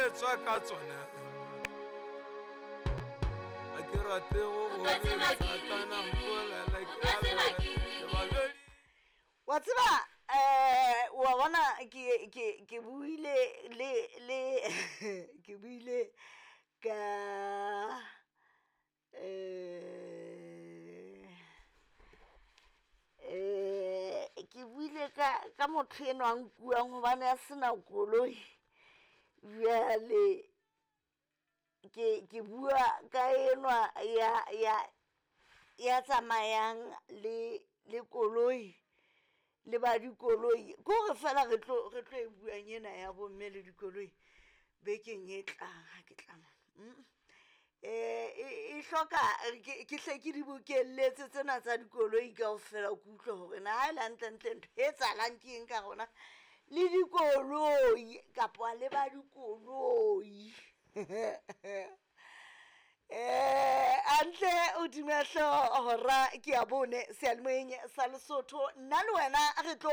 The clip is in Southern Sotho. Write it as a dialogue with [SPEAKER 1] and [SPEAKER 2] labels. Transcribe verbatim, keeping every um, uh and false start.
[SPEAKER 1] etswa ka tsona. Ga ke rate go
[SPEAKER 2] O ka tseba
[SPEAKER 1] bona
[SPEAKER 2] ke
[SPEAKER 1] Satana
[SPEAKER 2] re ke reng.
[SPEAKER 1] mpolela
[SPEAKER 2] O
[SPEAKER 1] ke
[SPEAKER 2] ka
[SPEAKER 1] a
[SPEAKER 2] tseba
[SPEAKER 1] lora
[SPEAKER 2] ke re
[SPEAKER 1] ke
[SPEAKER 2] ke
[SPEAKER 1] ba
[SPEAKER 2] reng.
[SPEAKER 1] jweditše.
[SPEAKER 3] Wa tseba um wa bona ke ke ke buile le le ke buile ka um um ke buile ka ka motho enwa a nkuang gobane a sena koloi. Bjale ke ke bua ka enwa ya ya ya tsamayang le le koloi le ba dikoloi, ke gore fela re tlo re tlo e buang ena ya bomme le dikoloi bekeng e tlang ga ke tla mo. Mm. Eh, e e hloka ke ke hle ke di bokelletse tsena tsa dikoloi kaofela, ke utlwe hore na ha e le hantlentle ntho e etsahalang ke eng ka rona le dikoloi kapa le ba dikoloi. Eh antle o dumehlo hora ke ya bone seyalemoyeng sa Lesotho, nna le wena re tlo